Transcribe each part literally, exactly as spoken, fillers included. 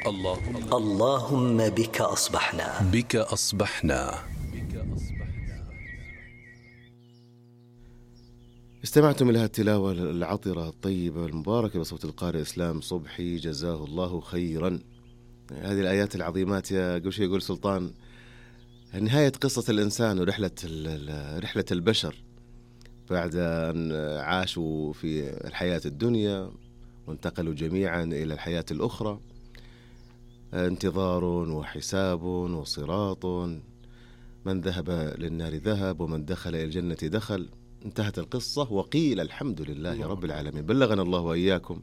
اللهم اللهم بك أصبحنا بك أصبحنا. استمعتم إلى التلاوة العطرة الطيبة المباركة بصوت القارئ إسلام صبحي جزاه الله خيرا. هذه الآيات العظيمات يا قبل شيء يقول سلطان نهاية قصة الإنسان ورحلة رحلة البشر بعد أن عاشوا في الحياة الدنيا وانتقلوا جميعا إلى الحياة الأخرى، انتظار وحساب وصراط، من ذهب للنار ذهب ومن دخل إلى الجنة دخل. انتهت القصة وقيل الحمد لله رب العالمين. بلغنا الله وإياكم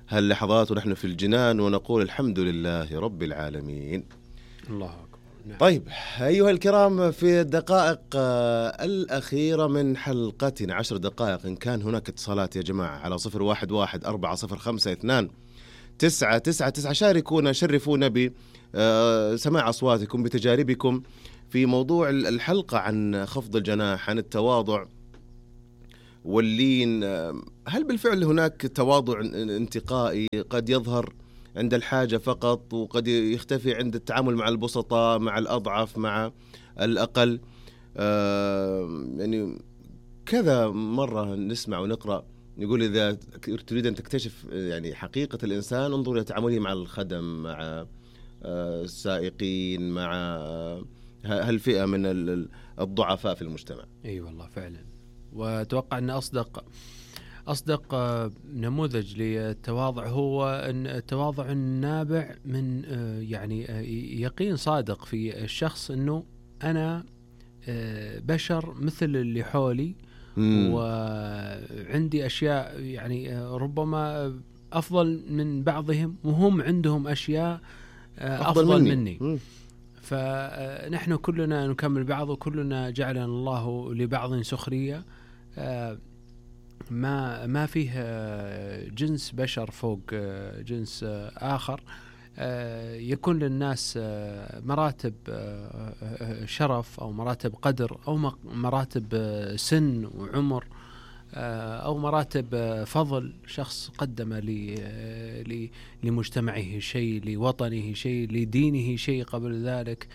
هاللحظات ونحن في الجنان ونقول الحمد لله رب العالمين. الله أكبر. نعم. طيب أيها الكرام، في الدقائق الأخيرة من حلقتنا، عشر دقائق، إن كان هناك اتصالات يا جماعة على صفر واحد واحد أربعة صفر خمسة اثنان تسعة تسعة تسعة، شاركونا شرفونا بسماع أصواتكم بتجاربكم في موضوع الحلقة عن خفض الجناح، عن التواضع واللين. هل بالفعل هناك تواضع انتقائي قد يظهر عند الحاجة فقط وقد يختفي عند التعامل مع البسطاء، مع الأضعف، مع الأقل؟ آه يعني كذا مرة نسمع ونقرأ يقول إذا تريد أن تكتشف يعني حقيقة الإنسان انظر إلى تعامله مع الخدم، مع آه السائقين، مع آه هالفئة من الضعفاء في المجتمع. أي والله فعلا. وأتوقع أن أصدق أصدق نموذج للتواضع هو أن التواضع النابع من يعني يقين صادق في الشخص أنه أنا بشر مثل اللي حولي، مم. وعندي أشياء يعني ربما أفضل من بعضهم وهم عندهم أشياء أفضل, أفضل مني, مني. مم. فنحن كلنا نكمل بعض وكلنا جعلنا الله لبعض سخرية. ما ما فيه جنس بشر فوق جنس آخر. يكون للناس مراتب شرف أو مراتب قدر أو مراتب سن وعمر أو مراتب فضل. شخص قدم لمجتمعه شيء، لوطنه شيء، لدينه شيء قبل ذلك،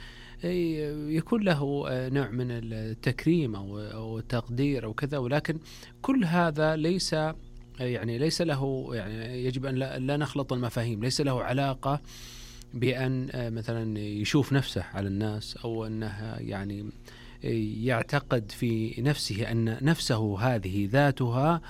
يكون له نوع من التكريم أو التقدير أو كذا. ولكن كل هذا ليس يعني ليس له يعني يجب أن لا, لا نخلط المفاهيم. ليس له علاقة بأن مثلا يشوف نفسه على الناس أو أنه يعني يعتقد في نفسه أن نفسه هذه ذاتها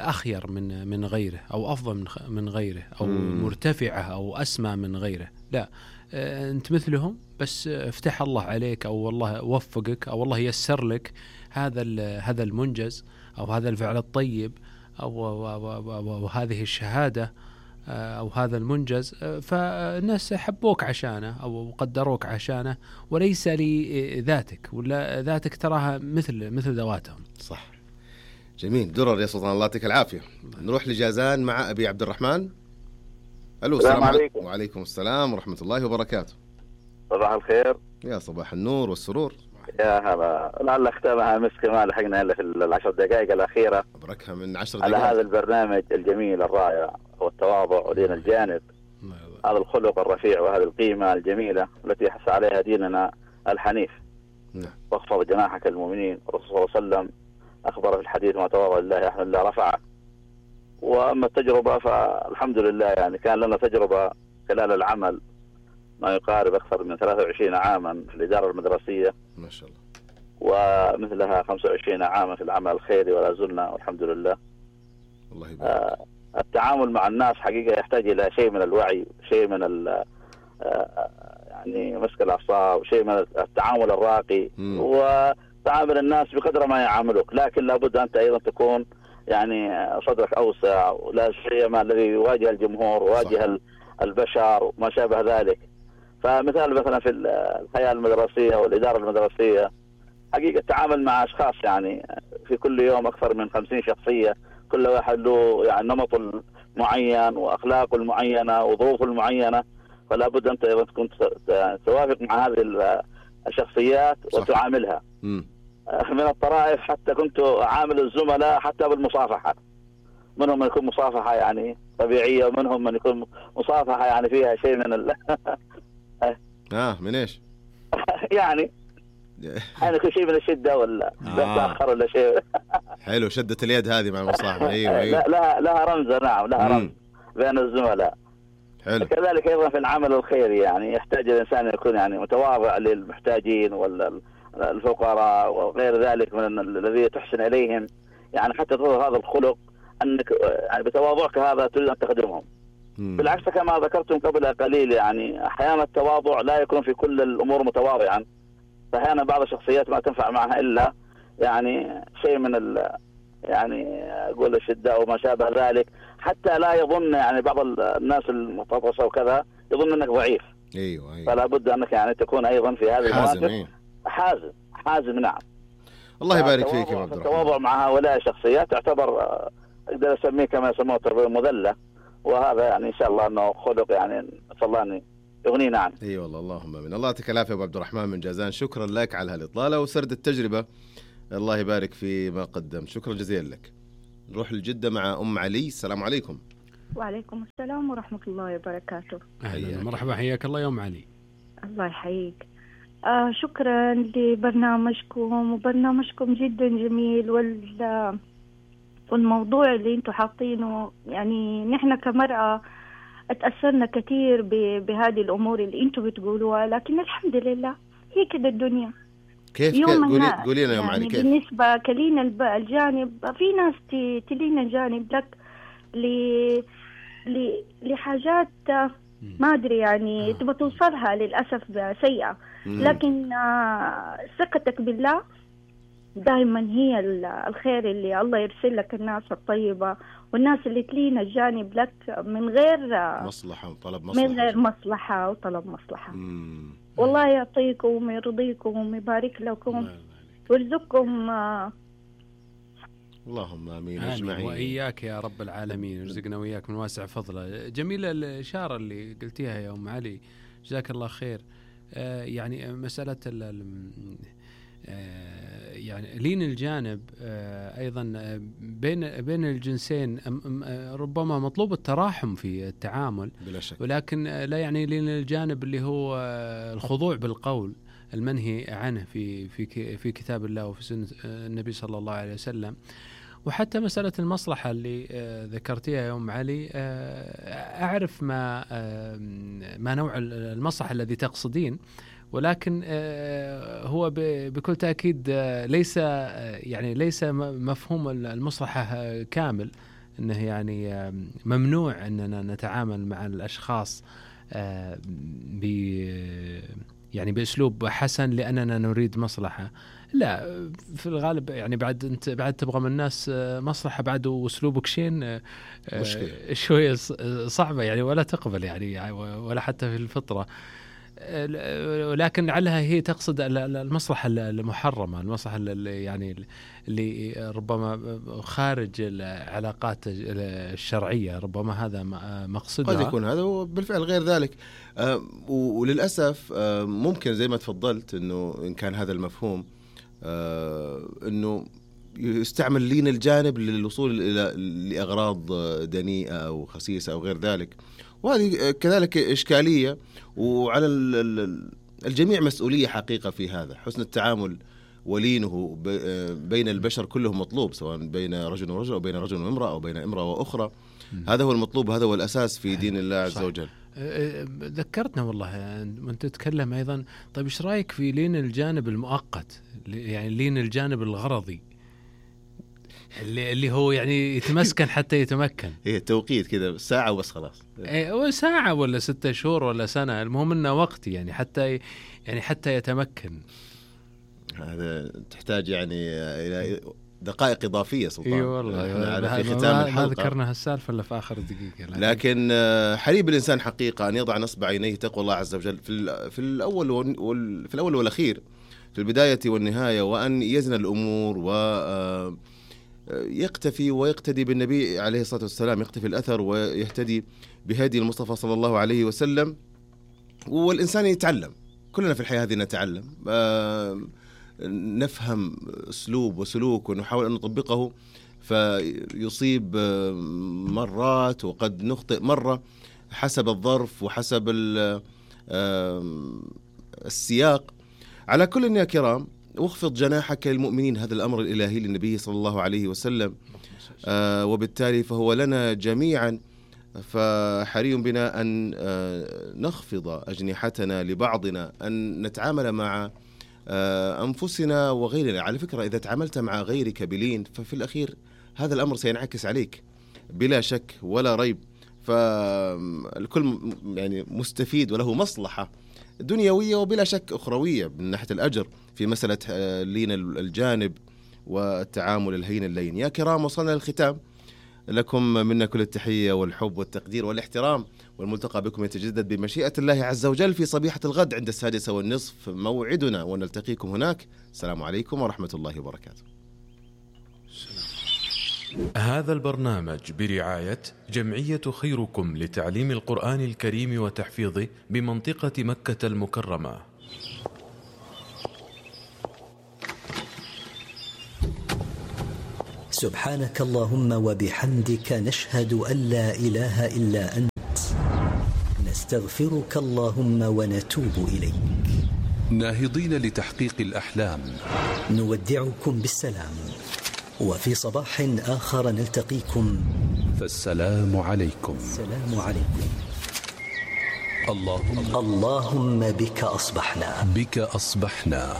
أخير من من غيره أو أفضل من غيره أو مرتفعة أو أسمى من غيره. لا، أنت مثلهم، بس افتح الله عليك أو والله وفقك أو والله يسر لك هذا هذا المنجز أو هذا الفعل الطيب أو, أو, أو, أو, أو هذه الشهادة أو هذا المنجز، فالناس حبوك عشانه أو قدروك عشانه وليس لذاتك، ولا ذاتك تراها مثل مثل ذواتهم. صح. جميل. درر يا سلطان، الله يعطيك العافية. نروح لجازان مع أبي عبد الرحمن. ألو. السلام عليكم. وعليكم السلام ورحمة الله وبركاته. صباح الخير. يا صباح النور والسرور. يا هلا. لعل ختامها مسك ما لحقنا إلا في العشر دقائق الأخيرة. أبركها من عشر دقائق على هذا البرنامج الجميل الرائع، والتواضع ودين الجانب، هذا الخلق الرفيع وهذه القيمة الجميلة التي حث عليها ديننا الحنيف. نعم. واخفض جناحك المؤمنين. الرسول صلى الله عليه وسلم أخبر في الحديث ما تواضع لله أحمد الله رفعه. وأما التجربة فالحمد لله يعني كان لنا تجربة خلال العمل ما يقارب أكثر من ثلاثة وعشرين عاما في الإدارة المدرسية ما شاء الله، ومثلها خمسة وعشرين عاما في العمل الخيري ولا زلنا والحمد لله. الله يبارك. آه التعامل مع الناس حقيقة يحتاج إلى شيء من الوعي، شيء من ال آه يعني مسك الأعصاب، شيء من التعامل الراقي، م. وتعامل الناس بقدر ما يعاملوك، لكن لابد أنت أيضا تكون يعني صدرك أوسع، ولا شيء ما الذي يواجه الجمهور وواجه البشر وما شابه ذلك. فمثال مثلا في الحياة المدرسية والإدارة المدرسية حقيقة التعامل مع أشخاص يعني في كل يوم أكثر من خمسين شخصية، كل واحد له يعني نمط معين وأخلاقه المعينة وظروفه المعينة، فلا بد أنت أيضا تكون توافق مع هذه الشخصيات وتعاملها. م. من الطرائف حتى كنت أعامل الزملاء حتى بالمصافحة، منهم من يكون مصافحة يعني طبيعية، ومنهم من يكون مصافحة يعني فيها شيء من ال اه من ايش؟ يعني يعني يكون شيء من الشدة ولا آه. لا تأخر ولا شيء. حلو، شدة اليد هذه مع المصاحبة. ايوه ايوه لها لها رمزة، نعم لها رمز بين الزملاء. حلو. كذلك أيضا في العمل الخيري يعني يحتاج الإنسان يكون يعني متواضع للمحتاجين والفقراء وغير ذلك من الذي تحسن إليهم، يعني حتى تظهر هذا الخلق أنك يعني بتواضعك هذا تريد أن تخدمهم. مم. بالعكس كما ذكرتم قبل قليل يعني أحيانا التواضع لا يكون في كل الأمور متواضعا، فأحيانا بعض الشخصيات ما تنفع معها إلا يعني شيء من ال يعني أقول الشدة أو ما شابه ذلك، حتى لا يظن يعني بعض الناس المتطرفة وكذا يظن أنك ضعيف. ايوه ايوه فلا بد أنك يعني تكون أيضا في هذه حازم. المواقف أيوه. حازم حازم نعم. الله يبارك فيك يا عبد الرحمن. التواضع مع هؤلاء الشخصيات تعتبر أقدر أسميه كما يسموه التربية المذلة، وهذا يعني إن شاء الله أنه خلق يعني نسأل الله أن يغنينا عنه. اي والله اللهم امين. الله يعطيك العافيه ابو عبد الرحمن من جازان، شكرا لك على هالاطلاله وسرد التجربه، الله يبارك في ما قدمت، شكرا جزيلا لك. نروح لجده مع ام علي. السلام عليكم. وعليكم السلام ورحمه الله وبركاته. اهلا مرحبا، حياك الله يا ام علي. الله يحييك. آه شكرا لبرنامجكم، وبرنامجكم جدا جميل، وال والموضوع اللي انتم حاطينه يعني نحن كمرأة اتأثرنا كثير بهذه الأمور اللي انتم بتقولوها، لكن الحمد لله هي كده الدنيا. كيف كيف قولي قولي لنا يا ام علي كيف بالنسبة كلينا الجانب، في ناس تلينا جانب لك ل لحاجات ما أدري يعني تبغى توصلها للأسف سيئة، لكن ثقتك بالله دائما هي الخير اللي الله يرسل لك، الناس الطيبة والناس اللي تلينا الجانب لك من غير مصلحة وطلب مصلحة، من غير مصلحة وطلب مصلحة. مم. والله يعطيكم ويرضيكم ويبارك لكم ويرزقكم. اللهم امين اجمعين. واياك يا رب العالمين، يرزقنا وياك من واسع فضله. جميله الاشاره اللي قلتيها يا ام علي، جزاك الله خير. آه يعني مساله آه يعني لين الجانب آه ايضا بين بين الجنسين ربما مطلوب التراحم في التعامل بلا شك، ولكن لا يعني لين الجانب اللي هو الخضوع بالقول المنهي عنه في في في كتاب الله وفي سنة النبي صلى الله عليه وسلم. وحتى مسألة المصلحة اللي ذكرتيها يا أم علي، أعرف ما ما نوع المصلحة الذي تقصدين، ولكن هو بكل تأكيد ليس يعني ليس مفهوم المصلحة كامل، أنه يعني ممنوع أننا نتعامل مع الأشخاص ب يعني بأسلوب حسن لأننا نريد مصلحة. لا، في الغالب يعني بعد أنت بعد تبغى من الناس مصلحة بعد وأسلوبك شين شوية صعبة يعني، ولا تقبل يعني ولا حتى في الفطرة. ولكن لعلها هي تقصد المصلحة المحرمة، المصلحة اللي يعني اللي ربما خارج العلاقات الشرعية، ربما هذا مقصودها. قد يكون هذا وبالفعل غير ذلك. وللأسف ممكن زي ما تفضلت أنه إن كان هذا المفهوم أنه يستعمل لين الجانب للوصول إلى لأغراض دنيئة أو خسيسة أو غير ذلك، وهذه كذلك إشكالية. وعلى الجميع مسؤولية حقيقة في هذا، حسن التعامل ولينه بين البشر كلهم مطلوب، سواء بين رجل ورجل أو بين رجل وامرأة أو بين امرأة وأخرى. هذا هو المطلوب، هذا هو الأساس في دين الله عز وجل. ذكرتنا والله وانت تتكلم أيضا. طيب إيش رأيك في لين الجانب المؤقت، يعني لين الجانب الغرضي اللي اللي هو يعني يتمسكن حتى يتمكن؟ هي التوقيت كذا ساعة وبس خلاص، إيه ساعة ولا ستة شهور ولا سنة، المهم إنه وقت يعني حتى يعني حتى يتمكن. هذا تحتاج يعني إلى دقائق إضافية سلطان. إيه والله في ختام الحلقة ما ذكرنا هالسالفة إلا في آخر دقيقة. لكن حري الإنسان حقيقة أن يضع نصب عينيه تقوى الله عز وجل في في الأول وال في الأول والأخير، في البداية والنهاية، وأن يزن الأمور و يقتفي ويقتدي بالنبي عليه الصلاة والسلام، يقتفي الأثر ويهتدي بهدي المصطفى صلى الله عليه وسلم. والإنسان يتعلم، كلنا في الحياة هذه نتعلم، نفهم أسلوب وسلوك ونحاول أن نطبقه فيصيب مرات وقد نخطئ مرة حسب الظرف وحسب السياق. على كل يا كرام، واخفض جناحك للمؤمنين، هذا الأمر الإلهي للنبي صلى الله عليه وسلم، وبالتالي فهو لنا جميعا. فحري بنا أن نخفض أجنحتنا لبعضنا، أن نتعامل مع أنفسنا وغيرنا. على فكرة إذا تعاملت مع غيرك بلين ففي الأخير هذا الأمر سينعكس عليك بلا شك ولا ريب. فالكل يعني مستفيد وله مصلحة دنيوية وبلا شك أخروية من ناحية الأجر في مسألة لين الجانب والتعامل الهين اللين. يا كرام، وصلنا للختام. لكم منا كل التحية والحب والتقدير والاحترام، والملتقى بكم يتجدد بمشيئة الله عز وجل في صبيحة الغد عند السادسة والنصف موعدنا، ونلتقيكم هناك. السلام عليكم ورحمة الله وبركاته. هذا البرنامج برعاية جمعية خيركم لتعليم القرآن الكريم وتحفيظه بمنطقة مكة المكرمة. سبحانك اللهم وبحمدك، نشهد أن لا إله إلا أنت، نستغفرك اللهم ونتوب إليك. ناهضين لتحقيق الأحلام، نودعكم بالسلام، وفي صباح آخر نلتقيكم، فالسلام عليكم. السلام عليكم. اللهم اللهم بك أصبحنا بك أصبحنا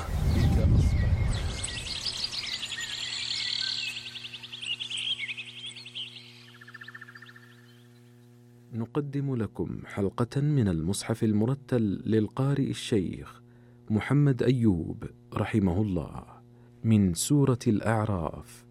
نقدم لكم حلقة من المصحف المرتل للقارئ الشيخ محمد أيوب رحمه الله من سورة الأعراف.